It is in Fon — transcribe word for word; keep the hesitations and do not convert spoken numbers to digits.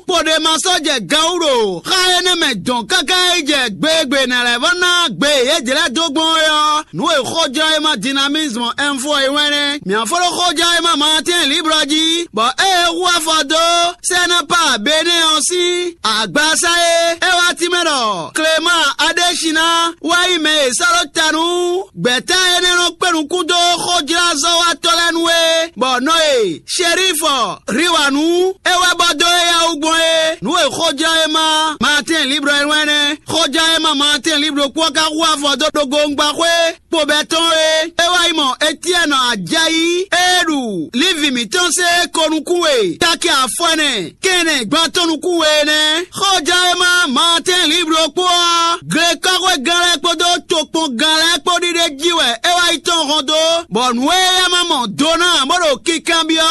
Kpodema sɔ́ jɛ gan wú ɖo xá énɛ́ mɛ dɔn káká yi jɛ gbe e gbe è nǎ lɛ́ vɔ́ ná gbe e yě jlɛ́ dó gbɔn é ɔ́, nǔ e xójlɔ́ e ma Dynamisme Info e wɛn nɛ́. Mǐ fó ɖó xójlɔ́ e ma Martin Libre jí, bɔ ée é hu afɔ dó Sɛnɛpa Benɛ́ ɔ́ sín agbasá é, é wá tínmɛ ɖɔ Clément Adéchina wá nyí mɛ e è sɔ́ ɖó ta nú gbɛ̌ta énɛ́ nɔ kpé nukún dó xójlázɔ́watɔ́ lɛ́ɛ nu é, bɔ nɔ e Sherifɔ Riwanu é wɛ bɔ dó éyɛ́ wú gbɔn é. Nǔ e xójlɔ́ e ma Martin Libre wɛn nɛ́. Xójlɔ́ e ma Martin Libre kpó ka hu afɔ dó ɖo gongbaxwé kpobɛ́ tɔn é. É wá yi mɔ Etiɛ́nɔ Ajayi e ɖu Livi mǐtɔn se ko nukún we taki afɔ ɛnɛ kɛnɛ gban tɔn nukún we nɛ́. Xójlɔ́ e ma Martin Libre kpó ɔ́, glekɔ́xwégán lɛ́ɛ kpódó tokpɔngán lɛ́ɛ kpó ɖiɖe jí wɛ é wá yi tɔn hɔn dó, bɔ nǔ e é ma mɔ do ná bó ɖo kinkanbyɔ́